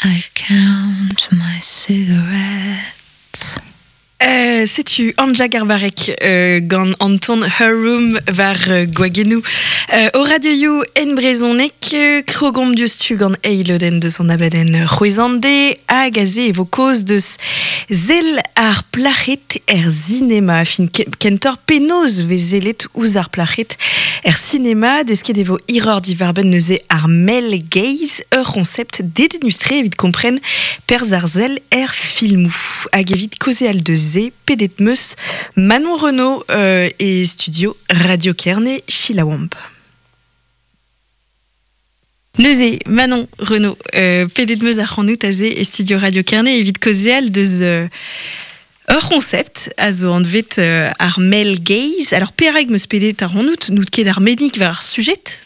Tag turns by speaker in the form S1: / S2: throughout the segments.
S1: I count my cigarettes.
S2: Setu Anja Garbarek gant Anton Her Room war gwagennoù o radioioù en brezhoneg. Krogomp diouzhtu gant eil lodenn deus an abadenn C'hwezhande hag aze e vo kaoz deus sell ar plac'hed er sinema. Fin kentoc'h penaos 'vez sellet ouzh ar plac'hed er sinema. Desket e vo hiroc'h diwar-benn neuze ar male gaze, ur c'honsept dedennus-tre evit kompren perzh ar sell er filmoù. Hag evit kaozeal deus se, pedet 'meus Manon Renaud e studio Radio Kerne. Selaouomp. Neuze, Manon Renaud, pedet 'meus ac'hanout aze e studio Radio Kerne evit kaozeal deus ur c'honsept a zo anvet ar male gaze. Alors perak 'meus pedet ac'hanout? N'out ket arbennik war ar sujet?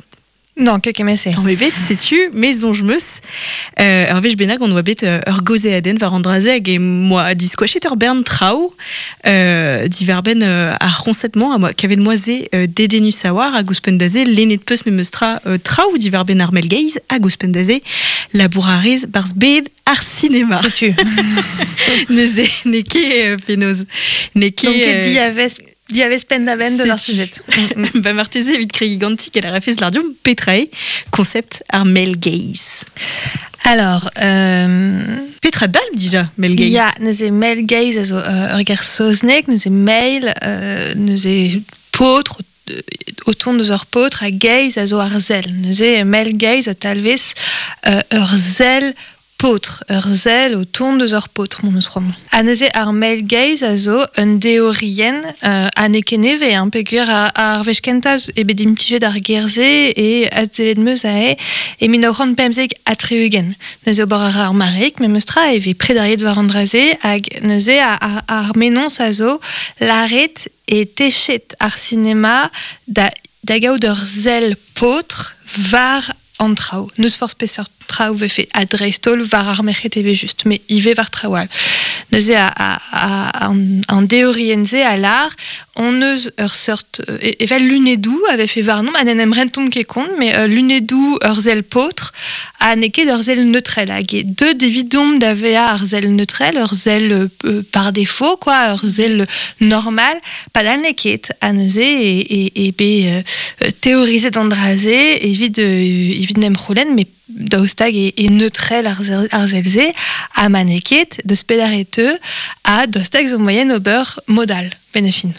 S3: Non, ket kement-se.
S2: Tamm ebet, setu, me soñj 'meus ur wech bennak on oa bet ur gaozeadenn war an dra-se hag em boa diskoachet ur bern traoù diwar-benn ar c'hoñset-mañ a moa kavet moa se dedennus a-walc'h hag ouzhpenn da se lennet 'peus memes tra traoù diwar-benn ar male gaze hag ouzhpenn da se labour a rez 'barzh bed ar sinema.
S3: Setu.
S2: Neuze n'eo ket penaos n'eo ket
S3: Donc diavez Diavez penn-da-benn deus ar sujet.
S2: Ba marteze evit kregiñ ganti ket a rafez lardiomp petra eo concept ar male gaze.
S3: Alors,
S2: Petra dalv dija male gaze?
S3: Ya, neuze male gaze a zo ur ger saozneg, neuze male, neuze paotr, o tont deus ur paotr, ha gaze a zo ar sell. Neuze male gaze a talvez ur sell paotr, ur sell o tont eus ur paotr, m'hon eus c'hoant. Ha neuze ar male gaze a zo un deorienn ha n'eo ket nevez, hein, peogwir ar wech kentañ eo bet implijet ar ger-se e adsellet 'm eus aze e 1975. Neuze ober a ra ar mareig memes tra e vez prederiet war an dra-se hag neuze ar mennozh a zo lâret e techet ar sinema da da gaout ur sell paotr war an traoù. N'eus forzh peseurt traoù 'vefe, ha dreist-holl war ar merc'hed evel-just, met ivez war traoù all. Neuze an deorienn-se a lâr hon eus ur seurt evel lunedoù a vefe warnomp ha n'en em rentomp ket kont, met lunedoù ur sell paotr ha n'eo ket ur sell neutrel. Hag eo deuet evidomp da vezañ ar sell neutrel, ur sell par défaut, quoi, ur sell normal, Padal n'eo ket, ha neuze eo bet teorizet an dra-se evit evit 'n em c'houlenn, met daoust hag e neutrel ar sell-se, ha ma n'eo ket, deus pelec'h e teu, ha daoust hag zo moaien ober mod all, benn ar fin.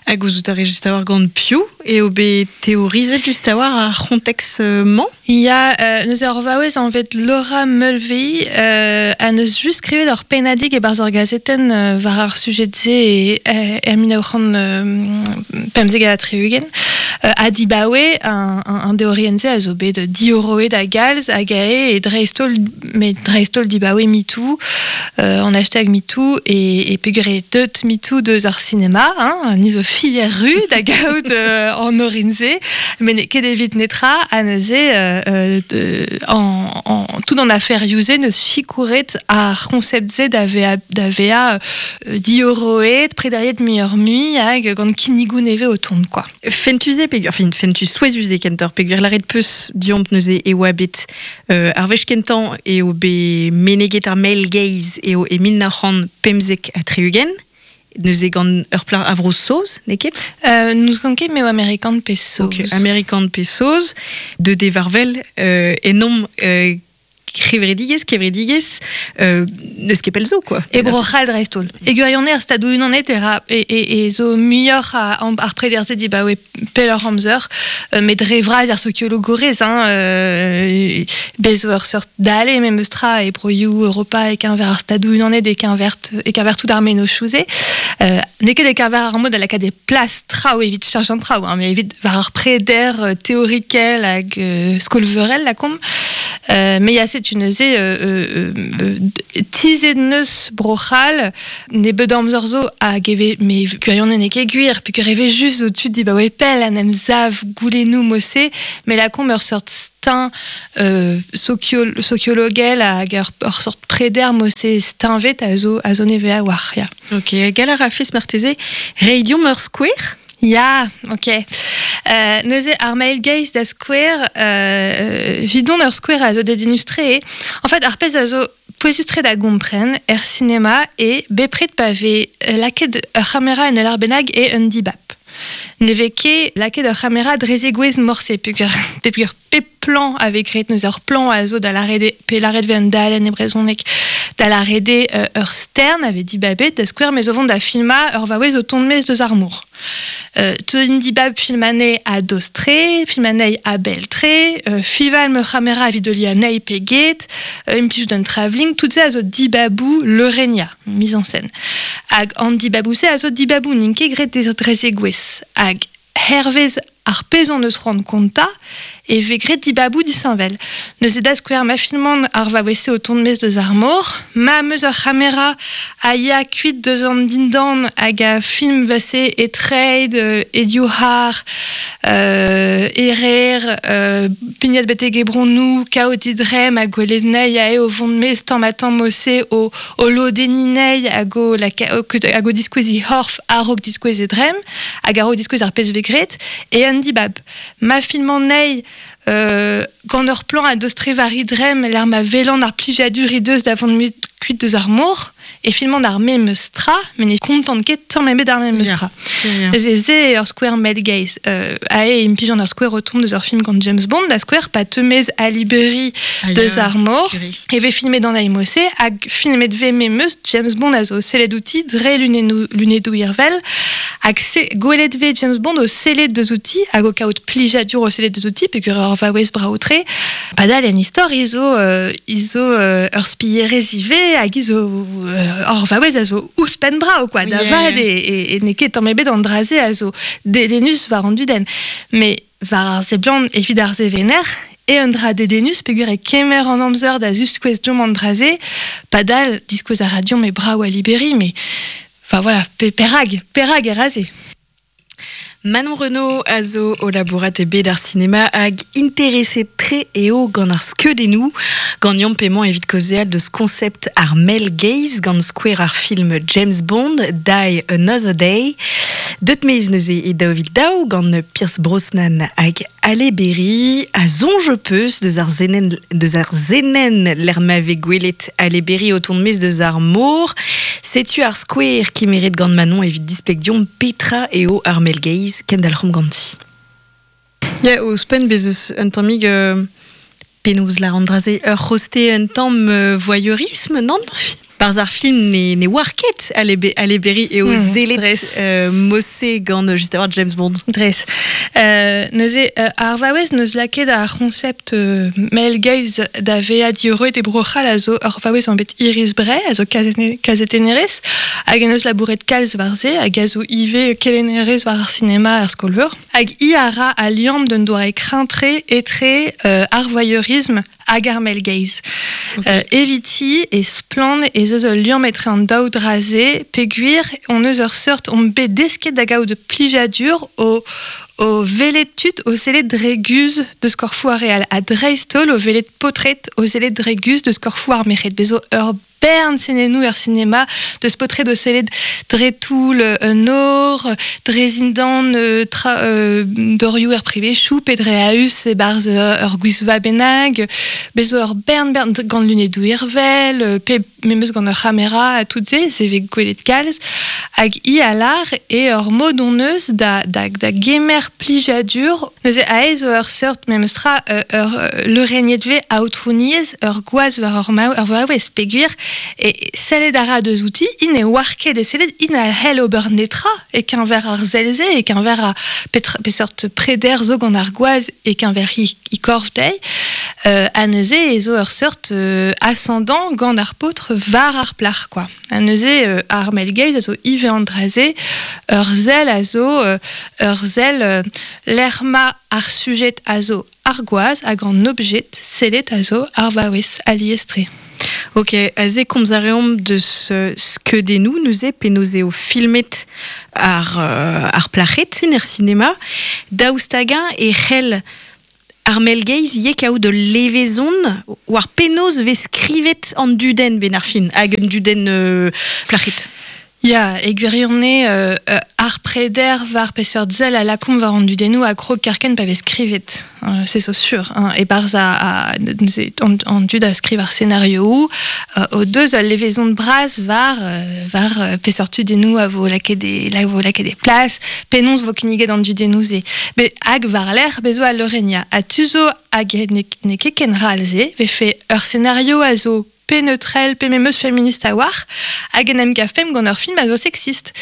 S2: Ha gouzout a rez just a-walc'h gant piv eo bet teorizet just a-walc'h ar c'honteks-mañ?
S3: Ya, neuze ur vaouez anvet Laura Mulvey a neus just skrivet ur pennadig e-barzh ur gazetenn war ar sujed-se e 1975. Ha dibaoe an deorienn-se a zo bet diorroet a-galz hag ae dreist-holl met dreist-holl dibaoe MeToo, an hashtag MeToo e peogwir eo deut MeToo deus ar sinema, hein, ni zo fier ru da gaout an orin-se, met n'eo ket evit netra, ha neuze en, tout an aferioù-se neus sikouret ar c'honsept-se da vezañ da vezañ diorroet, prederiet muioc'h-mui hag gant kinnigoù nevez o tont, quoi.
S2: Fentus eo peogwir, enfin fentus souezhus eo kentoc'h peogwir lâret 'peus deomp neuze e oa bet ar wech kentañ eo bet meneget ar male gaze eo e 1975 neuze gant ur plac'h a Vro-Saoz, n'eo ket?
S3: N'ouzon ket m'eo amerikan pe saoz.
S2: Ok, amerikan pe saoz, deut eo war-wel ennomp kevredigezh, kevredigezh, n'eus ket pell zo, quoi.
S3: E Bro-C'hall dreist-holl. E gwirionez ar Stadoù-Unanet e ra e, e, e zo muioc'h ar preder-se dibaoe pelloc'h amzer, met dre vras ar sokiologourez, hein, bez zo ur seurt dale memes tra e broioù Europa e-keñver ar Stadoù-Unanet e-keñver e-keñver tout ar mennozhioù-se. N'eo ket e-keñver ar mod da lakaat e plas traoù evit cheñch an traoù, hein, met evit war ar preder teorikel hag skolveurel, lakaomp. Mais ya, setu neuze tizhet neus Bro-C'hall nebeut amzer zo hag e vez me gwirionez n'eo ket gwir peogwir e vez just zo tud dibaoe pell en em sav goulennoù mod-se met lakaomp ur seurt steuñv sokiologel hag ur seurt preder mod-se steuñvet a zo a zo nevez a-walc'h ya.
S2: Ok, gall a rafes marteze reiñ deomp ur skouer?
S3: Ya, ok. Neuze ar male gaze da skouer, vidon ur skouer a zo dedennus-tre. En fait, ar pezh a zo pouezus-tre da gompren er sinema e bepred pa vez lakaet ur c'hamera en ul arbennak e un dibab. Ne vez ket lakaet ur c'hamera dre zegouezh morse peogwir peogwir pep plan a vez graet neuze ur plan a zo da lâret eo pe lâret vez un dalenn e brezhoneg da lâret eo ur stern a vez dibabet da skouer me zo vont da filmañ ur vaouez o tont maez deus ar mor. Teuin dibab film anezhi a-dost-tre, film anezhi a-bell-tre, fival ma c'hamera evit heuliañ anezhi pe get, implij d'un travelling, tout se a zo dibaboù leurenniañ, mise en scène. Hag an dibaboù-se a zo dibaboù n'int ket graet dre zegouezh. Hag hervez ar pezh hon eus c'hoant kontañ e vez graet dibaboù disheñvel. Neuze da skouer ma filman ar vaouez-se o tont maez deus ar mor, ma 'm eus ur c'hamera a ya kuit deus an dindan hag a film vase e treid, e divhar, e rer, pignat betek e bronnoù, kaout he dremm ha gwelet anezhi aze o vont maez tamm-ha-tamm ose o, o lodenniñ anezhi hag o, hag o diskouez he c'horf a-raok diskouez e dremm hag a-raok diskouez ar pezh vez graet e un dibab. Ma filman anezhi gant ur plan a-dost-tre war he dremm lec'h ma welan ar plijadur he deus da vont kuit deus ar mor e filman ar memes tra met ne kontan ket tamm ebet ar memes tra. Neuze se eo ur skouer male gaze. Aze e implijan ur skouer o tont deus ur film gant James Bond da skouer pa teu maez Ali Berry deus ar mor e vez filmet an aimose hag filmet vez memes James Bond a zo sellet outi dre lunennoù lunedoù irvel hag se gwelet vez James Bond o sellet deus outi hag o kaout plijadur o sellet deus outi peogwir ur vaouez brav-tre padal en istor hi zo hi zo ur spillerez ivez hag hi zo ur vaouez a zo ouzhpenn brav quoi da vat e n'eo ket tamm ebet an dra-se a zo dedennus war an dudenn met war ar seblant evit ar sevener eo un dra dedennus peogwir e kemer an amzer da ziskouez deomp an dra-se padal diskouez a ra deomp eo brav al Liberi met enfin voilà perak perak e ra se.
S2: Manon Renaud a zo o labourat e bed ar sinema hag intereset-tre eo gant ar skeudennoù. Ganeomp emañ evit kaozeal deus konsept ar male gaze gant skouer ar film James Bond, Die Another Day. Deut maez neuze e 2002 gant Pierce Brosnan hag Halle Berry. A soñj peus deus ar senenn deus ar senenn lec'h ma vez gwelet Halle Berry o tont maez deus ar mor. Setu ar skouer kemeret gant Manon evit displeg deomp petra eo ar male gaze. Kendalc'homp ganti. Ya, ouzhpenn bez eus un tammig penaos lâr an dra-se ur c'hoste un tamm voyeurisme, nann? Barzh ar film ne, ne oar ket Halle Berry eo sellet Mosse gant just avant James Bond.
S3: Dres. Neuze, ar vaouez n'eus lakaet ar c'honsept male gaze da vezañ diorroet e Bro-C'hall a zo ur vaouez anvet Iris Bray, a zo kazetennerez, hag en deus labouret kalz war se, hag a zo ivez kelennerez war ar sinema er skol-veur. Hag hi a ra al liamm d'un doare kreñv-tre etre ar voyeurisme hag ar male gaze. Okay. Eviti e splann ez eus ul liamm etre an daou dra-se peogwir hon eus ur seurt omp bet desket da gaout plijadur o o welet tud o sellet dre guzh deus korfoù ar re all ha dreist-holl o welet paotred o sellet dre guzh deus korfoù ar merc'hed. Bez zo ur bern senennoù er sinema deus paotred o sellet dre toull un nor, dre zindan tra, dorioù er privezioù pe dre a-us e-barzh ur gwisva bennak. Bez zo ur bern bern gant lunedoù irvel pe memes gant ur c'hamera ha tout se, se vez gwelet kalz. Hag hi a lâr eo ur mod hon eus da, da, da gemer plijadur. Neuze aze zo ur seurt memes tra ur leurenniet vez aotrouniezh ur gwaz war ur ur vaouez peogwir e sellet a ra deus outi, int ne oar ket e sellet, int a c'hell ober netra e-keñver ar sell-se, e-keñver ar petra peseurt preder zo gant ar gwaz e-keñver he, he korf dezhi. Ha neuze e zo ur seurt ascendant gant ar paotr war ar plac'h quoi. Ha neuze ar male gaze a zo ivez an dra-se, ur sell a zo ur sell lec'h ma ar sujet a zo ar gwaz hag an objet sellet a zo ar vaouez alies-tre.
S2: Ok, aze komz a reomp deus skeudennoù neuze penaos eo filmet ar, ar plac'hed er sinema. Daoust hag-eñ e c'hell ar male gaze ivez kaout ul levezon war penaos vez skrivet an dudenn benn ar fin hag un dudenn plac'hed?
S3: Ya, e gwirionez ar preder war peseurt sell a lakaomp war an dudennoù a krog kerkent pa vez skrivet. Se zo sur. Hein. E-barzh neuze, an dud a skriv ar senarioù o deus ul levezon bras war peseurt tudennoù a vo lakaet e plas, penaos vo kinniget an dudennoù-se. Met hag war-lerc'h bezo al leurenniañ. Ha tu zo hag n'eo ket ken ral-se, vefe ur senario a zo pe neutrel, pe memes feminist a-walc'h, hag en em gavfemp gant ur film a zo sexist.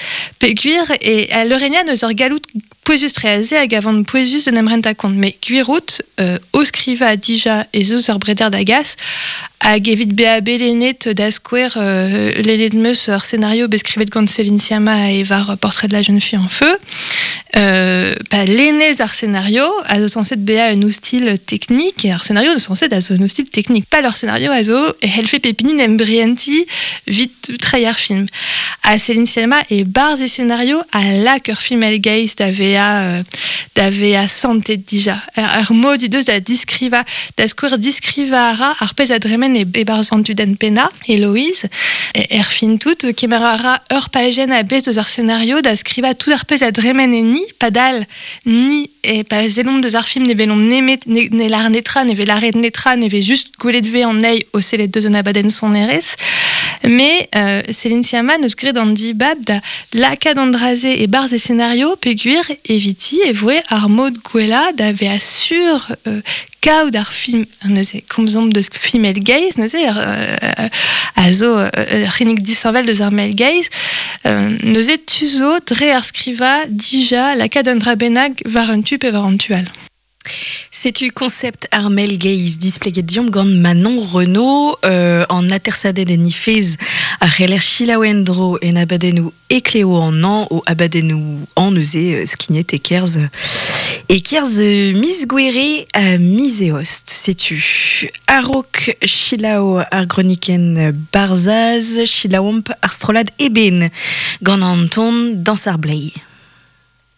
S3: Peogwir e al leurenniañ n'eus ur galloud pouezus-tre aze hag a van pouezus d'en em rentañ kont. Met gwir out, o skrivañ dija ez eus ur breder da gas, hag evit bezañ bet lennet da skouer, lennet 'm eus ur senario bet skrivet gant Céline Sciamma e war Portrait de la jeune fille en feu. Pa lennez ar senario a zo sañset bezañ un oustilh teknik, ar senario zo sañset a zo un oustilh teknik. Pal ur senario a zo e c'hellfe pep hini en em brientiñ evit treiñ ar film. Ha Céline Sciamma e-barzh e senario a lak ur film gaze da vezañ santet dija. Ar mod he deus da diskrivañ, da skouer diskrivañ a ra ar pezh a dremen e-barzh an dudenn pennañ, Héloïse. Er fin tout, kemer a ra ur pajenn a-bezh deus ar senario da skrivañ tout ar pezh a dremen enni, padal ni e pa sellomp deus ar film ne welomp nemet ne lâr netra, ne vez lâret netra, ne vez just gwelet vez an eil o sellet deus un abadenn sonerezh. Mais Céline Sciamma neus graet an dibab da lakaat an dra-se e-barzh e senario peogwir eviti e voe ar mod gwellañ da vezañ sur kaout ar film neuze komzomp deus female gaze neuze a zo ur c'hinnig disheñvel deus ar male gaze neuze tu zo dre ar skrivañ dija lakaat un dra bennak war un tu pe war an tu all.
S2: Setu konsept ar male gaze displeget deomp gant Manon Renaud an atersadenn en he fezh a c'heller selaou en-dro en abadennoù Ekleo an hañv o abadennoù hañv neuze skignet e-kerzh miz Gouere ha miz Eost. Setu a-raok selaou ar gronikenn Barzhaz, selaouomp ar strollad Eben gant an ton Dañs ar bleiz.